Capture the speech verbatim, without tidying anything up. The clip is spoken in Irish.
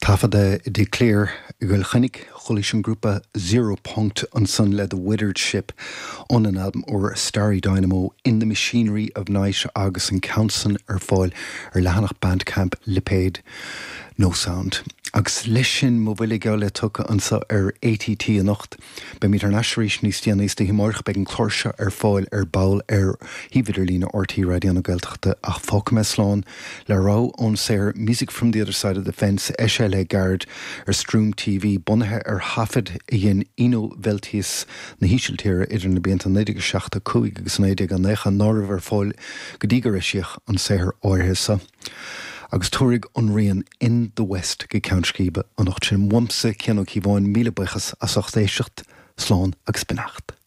Taifeadta i dTigh Clear i gCill Chainnigh chualaís an grúpa Zero Punkt ansan le The Withered Ship óna n-albam úr Starry Dynamo in the Machinery of Night agus an ceann san ar fáil ar leathanach Bandcamp Lipéad No Sound. Agus leis sin mo bhuille geall le tugtha anseo ar ATT anocht. Beimid ar ais arís níos déanaí istoíche amárach beidh an clár seo ar fáil ar ball ar shuíomh idirlín RTÉ Raidió na Gaeltachta ach fágfaidh mé slán le rogha ón saothar Music from the Other Side of the Fence eisithe le gairid ar Stream TV bunaithe ar thaifead a dhein Eno Velthuis na hÍsiltíre idir na blianta naoi déag seachtó cúig agus naoi déag nócha ná raibh ar fáil go dtí gur eisíodh an saothar áirithe seo. agus tabharfaidh an rian in the West go ceann scríbe anocht sin uaimse Cian Ó Cíobháin míle buíochas as ucht éisteacht, slán agus beannacht.